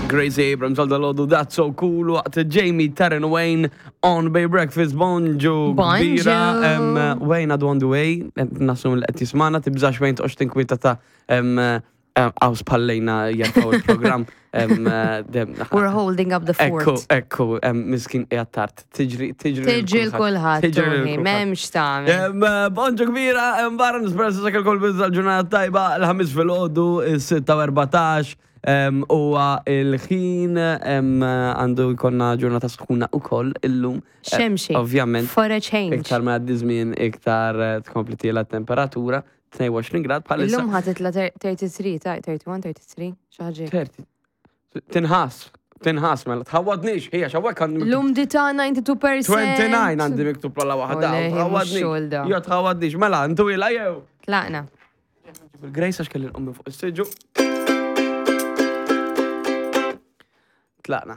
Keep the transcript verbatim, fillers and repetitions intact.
Gracie Abrams għal dal-għodu That's So Cool waqt Jamie Taryn Wayne on Bay Breakfast. Bonġu Bonġu. kbira. Em, Wayne għadu on the way, nasum li qed jismana, tibżax Wayne, toqgħodx tinkwieta ta' em, em, għaw spallejna jarfaw il-program. Em, dem- We're holding up the Ekku, fort. Ekku, em, miskin qiegħed tard. Tiġri, tiġri. Tiġi l-kulħadd, Tiġri lil Tony, kulħadd. m'hemmx tagħmel. Em, eh, Bonġu kbira, em, barra nispera sa kol bizza l-ġurnata tajba, l-ħamis fil-ħodu, il-sitta u erbatax, em, huwa il-ħin, em, għandu jkollna ġurnata sħuna u koll illum. Eh, Xemxi. Ovvjament, For a change. Iktar ma għaddi żmien, iktar eh, tkompli tiela temperatura, tnejn u għoxrin grad bħalissa. Illum ħa titla' tlieta u tletin, ta' wieħed u tletin, tlieta u tletin, xi ħaġa. Terti. Tinħas, tinħas mela, tħawadnix, hija xawek għandi miktub L-umdità disgħa u tmenin fil-mija. disgħa u għoxrin għandi miktub la waħda. Oleh, mhux Tħawadnix. xogħol da. Jo, tħawadnix, mela, intu ila jew. Tlaqna. Bil-Grace għax kelli nqum minn fuq is-siġġu. Tlaqna.